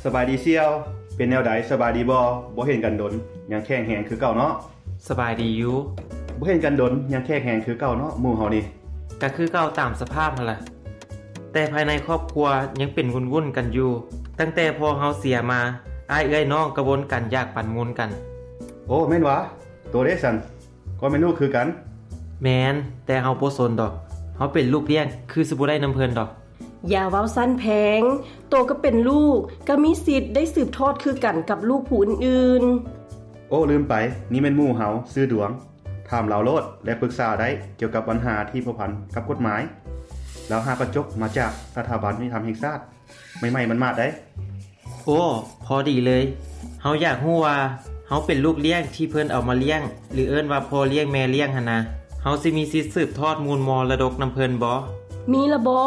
ສະບາຍດີສ່ຽວ ເປັນແນວໃດ ສະບາຍດີບໍ່? ບໍ່ເຫັນກັນດົນ ຍັງແຂງແຮງຄືເກົ່າເນາະ? ສະບາຍດີຢູ່ ບໍ່ເຫັນກັນດົນ ຍັງແຂງແຮງຄືເກົ່າເນາະ ໝູ່ເຮົານີ້. ກະຄືເກົ່າຕາມສະພາບຫັ້ນລະ ແຕ່ພາຍໃນຄອບຄົວຍັງເປັນວຸ່ນໆກັນຢູ່. ຕັ້ງແຕ່ພໍ່ເຮົາເສຍມາ ອ້າຍເອື້ອຍນ້ອງກະວົນກັນຢາກປັນມູນກັນ. ໂອ້ ແມ່ນຫວາ? ໂຕເດຊັ້ນ? ກໍແມ່ນລູກຄືກັນ. ແມ່ນ ແຕ່ເຮົາບໍ່ສົນດອກ ເຮົາເປັນລູກລ້ຽງ ຄືຊິບໍ່ໄດ້ນຳເພິ່ນດອກ. ຢ່າເວົ້າຊັ້ນແພງ ໂຕກໍເປັນລູກ ກໍມີສິດໄດ້ສືບທອດຄືກັນກັບລູກຜູ້ອື່ນໆ. ໂອ້ ລືມໄປ ນີ້ແມ່ນໝູ່ເຮົາ ຊື່ດວງ ຖາມລາວໂລດ ແລະ ປຶກສາໄດ້ກ່ຽວກັບບັນຫາທີ່ພົວພັນກັບກົດໝາຍ. ລາວຫາກະຈົບມາຈາກສະຖາບັນຍຸຕິທຳແຫ່ງຊາດ ໃໝ່ໆໝາດໆໄດ໋. ໂອ້ ພໍດີເລີຍ ເຮົາຢາກຮູ້ວ່າເຮົາເປັນລູກລ້ຽງທີ່ເພິ່ນເອົາມາລ້ຽງ ຫຼື ເອີ້ນວ່າພໍ່ລ້ຽງແມ່ລ້ຽງຫັ້ນນະ ເຮົາຊິມີສິດສືບທອດມູນມໍລະດົກນຳເພິ່ນບໍ່? ມີລະບໍ?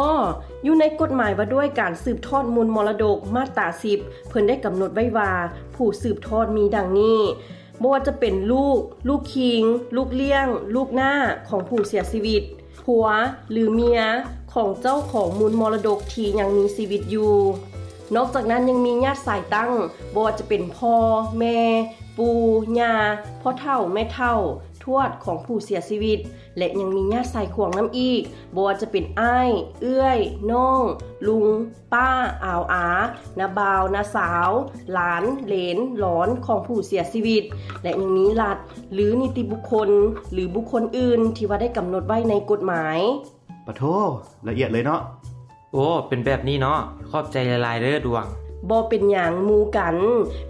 ຢູ່ໃນກົດໝາຍວ່າດ້ວຍການສືບທອດມູນມໍລະດົກ ມາດຕາສິບ ເພິ່ນໄດ້ກຳນົດໄວ້ວ່າ ຜູ້ສືບທອດມີດັ່ງນີ້ ບໍ່ວ່າຈະເປັນລູກ, ລູກຄີງ, ລູກລ້ຽງ, ລູກນ້າຂອງຜູ້ເສຍຊີວິດ, ຜົວ ຫຼື ເມຍຂອງເຈົ້າຂອງມູນມໍລະດົກທີ່ຍັງມີຊີວິດຢູ່. ນອກຈາກນັ້ນຍັງມີຍາດສາຍຕັ້ງ ບໍ່ວ່າຈະເປັນພໍ່, ແມ່, ປູ່, ຍ່າ, ພໍ່ເຖົ້າ, ແມ່ເຖົ້າ, ທວດຂອງຜູ້ເສຍຊີວິດ ແລະ ຍັງມີຍາດສາຍຂວາງນຳອີກ ບໍ່ວ່າຈະເປັນອ້າຍ, ເອື້ອຍ, ນ້ອງ, ລຸງ, ປ້າ, ອາວອາ, ນ້າບ່າວ, ນ້າສາວ, ຫຼານ, ເຫຼນ, ຫຼອນຂອງຜູ້ເສຍຊີວິດ ແລະ ຍັງມີລັດ ຫຼື ນິຕິບຸກຄົນ ຫຼື ບຸກຄົນອື່ນທີ່ວ່າໄດ້ກຳນົດໄວ້ໃນກົດໝາຍ. ປະໂທ ລະອຽດເລີຍເນາະ. ໂອ້ ເປັນແບບນີ້ເນາະ ຂອບໃຈຫຼາຍໆເດີດວງ. ບໍ່ເປັນຫຍັງ ໝູ່ກັນ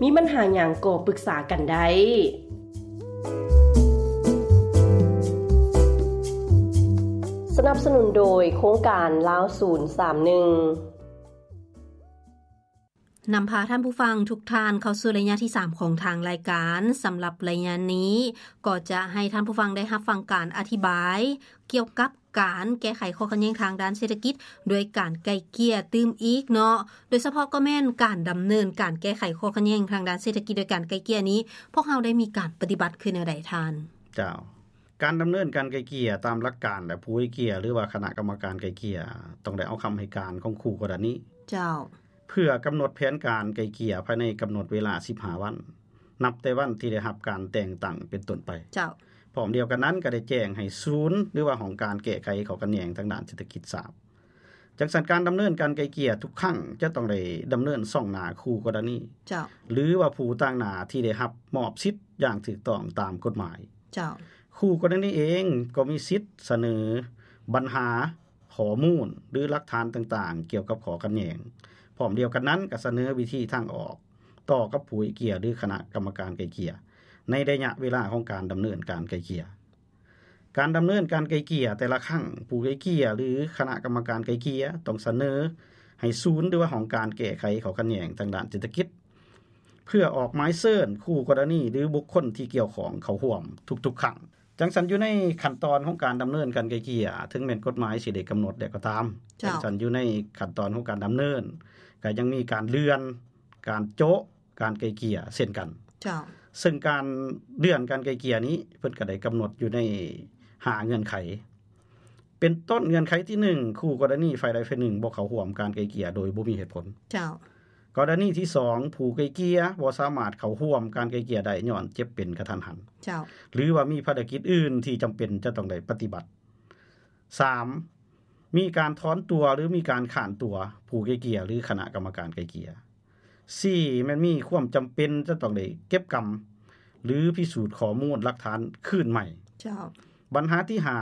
ມີບັນຫາຫຍັງກໍປຶກສາກັນໄດ້. ສະໜັບສະໜູນໂດຍໂຄງການລາວສູນສາມໜຶ່ງ. ນຳພາທ່ານຜູ້ຟັງທຸກທ່ານເຂົ້າສູ່ໄລຍະທີສາມຂອງທາງລາຍການ. ສຳລັບໄລຍະນີ້ກໍຈະໃຫ້ທ່ານຜູ້ຟັງໄດ້ຮັບຟັງການອະທິບາຍກ່ຽວກັບການແກ້ໄຂຂໍ້ຂັດແຍ່ງທາງດ້ານເສດຖະກິດດ້ວຍການໄກ່ເກ່ຍຕື່ມອີກເນາະ, ໂດຍສະເພາະກໍແມ່ນການດຳເນີນການແກ້ໄຂຂໍ້ຂັດແຍ່ງທາງດ້ານເສດຖະກິດດ້ວຍການໄກ່ເກ່ຍນີ້ ພວກເຮົາໄດ້ມີການປະຕິບັດຄືແນວໃດທ່ານ? ເຈົ້າ. ການດຳເນີນການໄກ່ເກ່ຍຕາມຫຼັກການ ແລະ ຜູ້ໄກ່ເກ່ຍ ຫຼືວ່າຄະນະກຳມະການໄກ່ເກ່ຍ ຕ້ອງໄດ້ເອົາຄຳໃຫ້ການຂອງຄູ່ກໍລະນີ. ເຈົ້າ. ເພື່ອກຳນົດແຜນການໄກ່ເກ່ຍພາຍໃນກຳນົດເວລາສິບຫ້າວັນ ນັບແຕ່ວັນທີ່ໄດ້ຮັບການແຕ່ງຕັ້ງເປັນຕົ້ນໄປ. ເຈົ້າ. ພ້ອມດຽວກັນນັ້ນກໍໄດ້ແຈ້ງໃຫ້ສູນ ຫຼືວ່າຫ້ອງການແກ້ໄຂຂໍ້ຂັດແຍ່ງທາງດ້ານເສດຖະກິດຊາບ. ຈັ່ງຊັ້ນການດຳເນີນການໄກ່ເກ່ຍທຸກຄັ້ງຈະຕ້ອງໄດ້ດຳເນີນສ່ອງໜ້າຄູ່ກໍລະນີ ເຈົ້າ. ຫຼືວ່າຜູ້ຕາງໜ້າທີ່ໄດ້ຮັບມອບສິດຢ່າງຖືກຕ້ອງຕາມກົດໝາຍ. ເຈົ້າ. ຄູ່ກໍລະນີເອງກໍມີສິດສະເໜີບັນຫາ, ຂໍ້ມູນ ຫຼື ຫຼັກຖານຕ່າງໆກ່ຽວກັບຂໍ້ຂັດແຍ່ງ. ພ້ອມດຽວກັນນັ້ນກໍສະເໜີວິທີທາງອອກຕໍ່ກັບຜູ້ໄກ່ເກ່ຍ ຫຼື ຄະນະກຳມະການໄກ່ເກ່ຍ ໃນໄລຍະເວລາຂອງການດຳເນີນການໄກ່ເກ່ຍ. ການດຳເນີນການໄກ່ເກ່ຍແຕ່ລະຄັ້ງ, ຜູ້ໄກ່ເກ່ຍ ຫຼື ຄະນະກຳມະການໄກ່ເກ່ຍ ຕ້ອງສະເໜີໃຫ້ສູນ ຫຼືວ່າຫ້ອງການແກ້ໄຂຂໍ້ຂັດແຍ່ງທາງດ້ານເສດຖະກິດ ເພື່ອອອກໝາຍເຊີນຄູ່ກໍລະນີ ຫຼື ບຸກຄົນທີ່ກ່ຽວຂ້ອງເຂົ້າຮ່ວມທຸກໆຄັ້ງ. ຈັ່ງຊັ້ນຢູ່ໃນຂັ້ນຕອນຂອງການດຳເນີນການໄກ່ເກ່ຍ ເຖິງແມ່ນກົດໝາຍຊິໄດ້ກຳນົດແລ້ວກໍຕາມ, ເຈົ້າ. ຈັ່ງຊັ້ນຢູ່ໃນຂັ້ນຕອນຂອງການດຳເນີນ ກໍຍັງມີການເລື່ອນ ການໂຈະ ການໄກ່ເກ່ຍເຊັ່ນກັນ. ເຈົ້າ. ເຊິ່ງການເລື່ອນການໄກ່ເກ່ຍນີ້ ເພິ່ນກໍໄດ້ກຳນົດຢູ່ໃນຫ້າເງື່ອນໄຂ. ເປັນຕົ້ນເງື່ອນໄຂທີໜຶ່ງ ຄູ່ກໍລະນີຝ່າຍໃດຝ່າຍໜຶ່ງບໍ່ເຂົ້າຮ່ວມການໄກ່ເກ່ຍໂດຍບໍ່ມີເຫດຜົນ. ເຈົ້າ. ກໍລະນີທີສອງ ຜູ້ໄກ່ເກ່ຍບໍ່ສາມາດເຂົ້າຮ່ວມການໄກ່ເກ່ຍໄດ້ຍ້ອນເຈັບເປັນກະທັນຫັນ. ເຈົ້າ. ຫຼືວ່າມີພາລະກິດອື່ນທີ່ຈຳເປັນຈະຕ້ອງໄດ້ປະຕິບັດ. ສາມ ມີການຖອນຕົວ ຫຼື ມີການຄ້ານຕົວຜູ້ໄກ່ເກ່ຍ ຫຼື ຄະນະກຳມະການໄກ່ເກ່ຍ. ສີ່ ແມ່ນມີຄວາມຈຳເປັນຈະຕ້ອງໄດ້ເກັບກຳ ຫຼື ພິສູດຂໍ້ມູນຫຼັກຖານຄືນໃໝ່. ເຈົ້າ. ບັນຫາທີຫ້າ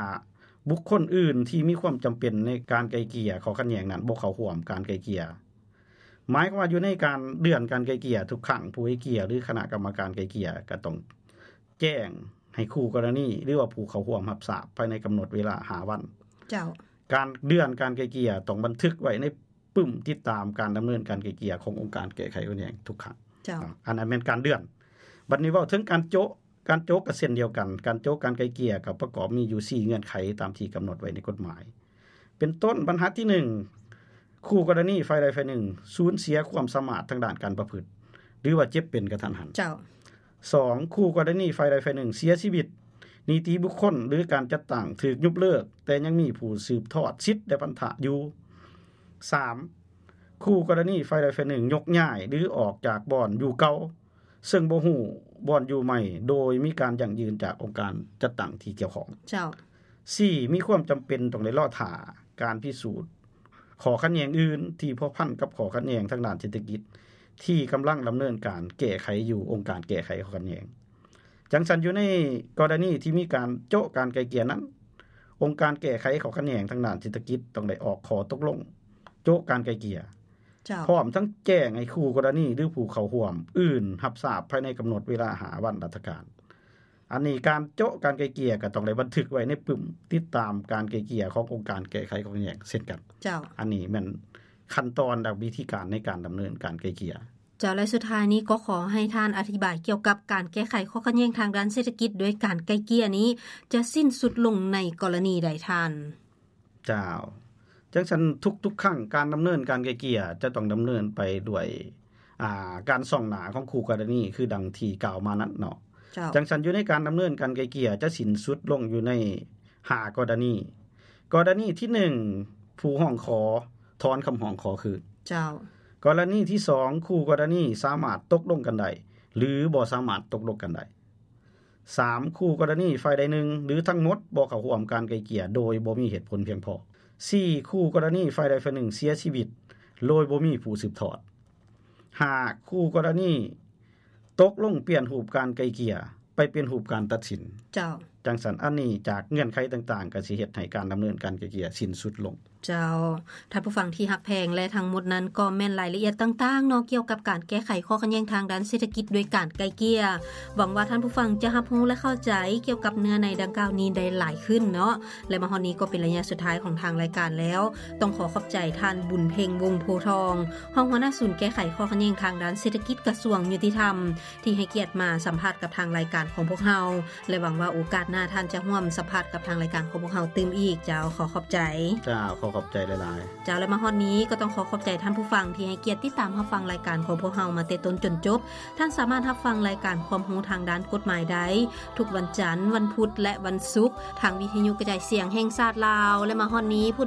ບຸກຄົນອື່ນທີ່ມີຄວາມຈຳເປັນໃນການໄກ່ເກ່ຍຂໍ້ຂັດແຍ່ງນັ້ນບໍ່ເຂົ້າຮ່ວມການໄກ່ເກ່ຍ. ໝາຍຄວາມວ່າຢູ່ໃນການເລື່ອນການໄກ່ເກ່ຍທຸກຄັ້ງ ຜູ້ໄກ່ເກ່ຍ ຫຼື ຄະນະກຳມະການໄກ່ເກ່ຍ ກໍຕ້ອງແຈ້ງໃຫ້ຄູ່ກໍລະນີ ຫຼືວ່າຜູ້ເຂົ້າຮ່ວມຮັບຊາບພາຍໃນກຳນົດເວລາຫ້າວັນ. ເຈົ້າ. ການເລື່ອນການໄກ່ເກ່ຍຕ້ອງບັນທຶກໄວ້ໃນປຶ້ມຕິດຕາມການດຳເນີນການໄກ່ເກ່ຍຂອງອົງການແກ້ໄຂຂໍ້ຂັດແຍ່ງທຸກຄັ້ງ. ເຈົ້າ. ອັນນັ້ນແມ່ນການເລື່ອນ. ບັດນີ້ເວົ້າເຖິງການໂຈະ, ການໂຈະກໍເຊັ່ນດຽວກັນ, ການໂຈະການໄກ່ເກ່ຍກໍປະກອບມີຢູ່ສີ່ເງື່ອນໄຂຕາມທີ່ກຳນົດໄວ້ໃນກົດໝາຍ. ເປັນຕົ້ນບັນຫາທີໜຶ່ງ ຄູ່ກໍລະນີຝ່າຍໃດຝ່າຍໜຶ່ງສູນເສຍຄວາມສາມາດທາງດ້ານການປະພຶດ ຫຼືວ່າເຈັບເປັນກະທັນຫັນ. ເຈົ້າ. ສອງ ຄູ່ກໍລະນີຝ່າຍໃດຝ່າຍໜຶ່ງເສຍຊີວິດ, ນິຕິບຸກຄົນ ຫຼື ການຈັດຕັ້ງຖືກຍຸບເລີກ ແຕ່ຍັງມີຜູ້ສືບທອດສິດ ແລະ ພັນທະຢູ່. ສາມ ຄູ່ກໍລະນີຝ່າຍໃດຝ່າຍໜຶ່ງຍົກຍ້າຍ ຫຼື ອອກຈາກບ່ອນຢູ່ເກົ່າ ເຊິ່ງບໍ່ຮູ້ບ່ອນຢູ່ໃໝ່ ໂດຍມີການຢັ້ງຢືນຈາກອົງການຈັດຕັ້ງທີ່ກ່ຽວຂ້ອງ. ເຈົ້າ. ສີ່ ມີຄວາມຈຳເປັນຕ້ອງໄດ້ລໍຖ້າການພິສູດຂໍ້ຂັດແຍ່ງອື່ນທີ່ພົວພັນກັບຂໍ້ຂັດແຍ່ງທາງດ້ານເສດຖະກິດ ທີ່ກຳລັງດຳເນີນການແກ້ໄຂຢູ່ອົງການແກ້ໄຂຂໍ້ຂັດແຍ່ງ. ຈັ່ງຊັ້ນ ຢູ່ໃນກໍລະນີທີ່ມີການໂຈະການໄກ່ເກ່ຍນັ້ນ, ອົງການແກ້ໄຂຂໍ້ຂັດແຍ່ງທາງດ້ານເສດຖະກິດຕ້ອງໄດ້ອອກຂໍ້ຕົກລົງໂຈະການໄກ່ເກ່ຍ. ເຈົ້າ. ພ້ອມທັງແຈ້ງໃຫ້ຄູ່ກໍລະນີ ຫຼື ຜູ້ເຂົ້າຮ່ວມອື່ນຮັບຊາບພາຍໃນກຳນົດເວລາຫ້າວັນລັດຖະການ. ອັນນີ້ການໂຈະການໄກ່ເກ່ຍກໍຕ້ອງໄດ້ບັນທຶກໄວ້ໃນປຶ້ມຕິດຕາມການໄກ່ເກ່ຍຂອງອົງການແກ້ໄຂຂໍ້ຂັດແຍ່ງເຊັ່ນກັນ. ເຈົ້າ. ອັນນີ້ແມ່ນຂັ້ນຕອນ ແລະ ວິທີການໃນການດຳເນີນການໄກ່ເກ່ຍ. ເຈົ້າ ແລະ ສຸດທ້າຍນີ້ກໍຂໍໃຫ້ທ່ານອະທິບາຍກ່ຽວກັບການແກ້ໄຂຂໍ້ຂັດແຍ່ງທາງດ້ານເສດຖະກິດໂດຍການໄກ່ເກ່ຍນີ້ ຈະສິ້ນສຸດລົງໃນກໍລະນີໃດທ່ານ? ເຈົ້າ. ຈັ່ງຊັ້ນ ທຸກໆຄັ້ງການດຳເນີນການໄກ່ເກ່ຍຈະຕ້ອງດຳເນີນໄປດ້ວຍ ອ່າ ການສ່ອງໜ້າຂອງຄູ່ກໍລະນີ ຄືດັ່ງທີ່ກ່າວມານັ້ນເນາະ. ເຈົ້າ. ຈັ່ງຊັ້ນ ຢູ່ໃນການດຳເນີນການໄກ່ເກ່ຍຈະສິ້ນສຸດລົງຢູ່ໃນຫ້າກໍລະນີ. ກໍລະນີທີໜຶ່ງ ຜູ້ຮ້ອງຂໍຖອນຄຳຮ້ອງຂໍຄືນ. ເຈົ້າ. ກໍລະນີທີສອງ ຄູ່ກໍລະນີສາມາດຕົກລົງກັນໄດ້ ຫຼື ບໍ່ສາມາດຕົກລົງກັນໄດ້. ສາມ ຄູ່ກໍລະນີຝ່າຍໃດໜຶ່ງ ຫຼື ທັງໝົດບໍ່ເຂົ້າຮ່ວມການໄກ່ເກ່ຍໂດຍບໍ່ມີເຫດຜົນພຽງພໍ. ສີ່ ຄູ່ກໍລະນີຝ່າຍໃດຝ່າຍໜຶ່ງເສຍຊີວິດໂດຍບໍ່ມີຜູ້ສືບທອດ. ຫ້າ ຄູ່ກໍລະນີຕົກລົງປ່ຽນຮູບການໄກ່ເກ່ຍໄປເປັນຮູບການຕັດສິນ. ເຈົ້າ. ຈັ່ງຊັ້ນ ອັນນີ້ຈາກເງື່ອນໄຂຕ່າງໆ ກໍຊິເຮັດໃຫ້ການດຳເນີນການໄກ່ເກ່ຍສິ້ນສຸດລົງ. ເຈົ້າ. ທ່ານຜູ້ຟັງທີ່ຮັກແພງ ແລະ ທັງໝົດນັ້ນກໍແມ່ນລາຍລະອຽດຕ່າງໆເນາະ ກ່ຽວກັບການແກ້ໄຂຂໍ້ຂັດແຍ່ງທາງດ້ານເສດຖະກິດໂດຍການໄກ່ເກ່ຍ. ຫວັງວ່າທ່ານຜູ້ຟັງຈະຮັບຮູ້ ແລະ ເຂົ້າໃຈກ່ຽວກັບເນື້ອໃນດັ່ງກ່າວນີ້ໄດ້ຫຼາຍຂຶ້ນເນາະ. ແລະ ມາຮອດນີ້ກໍເປັນໄລຍະສຸດທ້າຍຂອງທາງລາຍການແລ້ວ. ຕ້ອງຂໍຂອບໃຈທ່ານ ບຸນເພັງ ວົງໂພທອງ, ຮອງຫົວໜ້າສູນແກ້ໄຂຂໍ້ຂັດແຍ່ງທາງດ້ານເສດຖະກິດ ກະຊວງຍຸຕິທຳ ທີ່ໃຫ້ກຽດມາສຳພາດກັບທາງລາຍການຂອງພວກເຮົາ ແລະ ຫວັງວ່າໂອກາດໜ້າທ່ານຈະຮ່ວມສຳພາດກັບທາງລາຍການຂອງພວກເຮົາຕື່ມອີກ. ເຈົ້າ, ຂໍຂອບໃຈ. ເຈົ້າ, ຂໍຂອບໃຈຫຼາຍໆ. ເຈົ້າ, ແລະ ມາຮອດນີ້ກໍຕ້ອງຂໍຂອບໃຈທ່ານຜູ້ຟັງທີ່ໃຫ້ກຽດຕິດຕາມຮັບຟັງລາຍການຂອງພວກເຮົາມາແຕ່ຕົ້ນຈົນຈົບ. ທ່ານສາມາດຮັບຟັງລາຍການຄວາມຮູ້ທາງດ້ານກົດໝາຍໄດ້ທຸກວັນຈັນ, ວັນພຸດ ແລະ ວັນສຸກ ທາງວິທະຍຸກະຈາຍສຽງແຫ່ງຊາດລາວ. ແລະ ມາຮອດນີ້ຜູ້